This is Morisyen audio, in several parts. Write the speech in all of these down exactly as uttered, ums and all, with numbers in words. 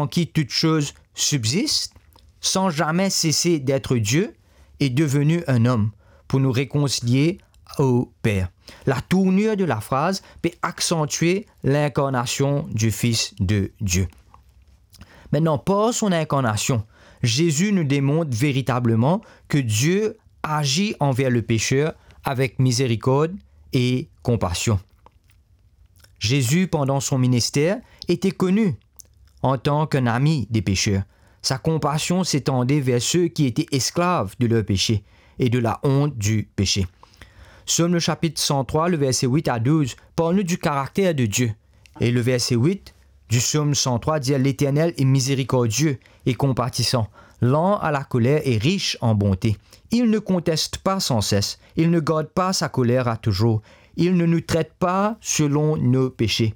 qui toutes choses subsistent, sans jamais cesser d'être Dieu, est devenu un homme pour nous réconcilier au Père. La tournure de la phrase peut accentuer l'incarnation du Fils de Dieu. Maintenant, par son incarnation, Jésus nous démontre véritablement que Dieu agit envers le pécheur avec miséricorde et compassion. Jésus, pendant son ministère, était connu en tant qu'un ami des pécheurs. Sa compassion s'étendait vers ceux qui étaient esclaves de leur péché et de la honte du péché. Psaume le chapitre cent trois, le verset huit à douze, parle-nous du caractère de Dieu. Et le verset huit du psaume cent trois dit, l'Éternel est miséricordieux et compatissant, lent à la colère et riche en bonté. Il ne conteste pas sans cesse, il ne garde pas sa colère à toujours, il ne nous traite pas selon nos péchés.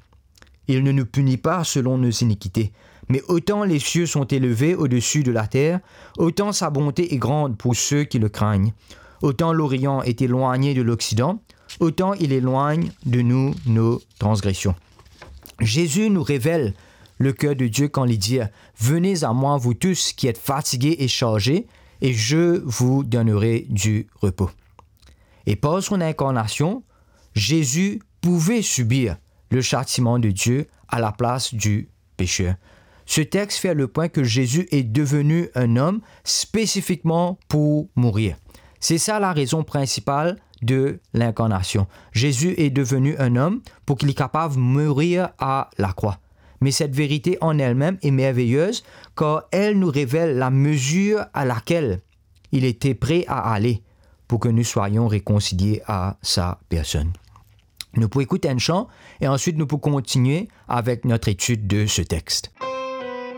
Il ne nous punit pas selon nos iniquités. Mais autant les cieux sont élevés au-dessus de la terre, autant sa bonté est grande pour ceux qui le craignent. Autant l'Orient est éloigné de l'Occident, autant il éloigne de nous nos transgressions. Jésus nous révèle le cœur de Dieu quand il dit, venez à moi, vous tous qui êtes fatigués et chargés, et je vous donnerai du repos. Et par son incarnation, Jésus pouvait subir le châtiment de Dieu à la place du pécheur. Ce texte fait le point que Jésus est devenu un homme spécifiquement pour mourir. C'est ça la raison principale de l'incarnation. Jésus est devenu un homme pour qu'il est capable de mourir à la croix. Mais cette vérité en elle-même est merveilleuse, car elle nous révèle la mesure à laquelle il était prêt à aller pour que nous soyons réconciliés à sa personne. Nou pou ekout enn chan e answit nou pou kontinie avek notre étude de ce texte.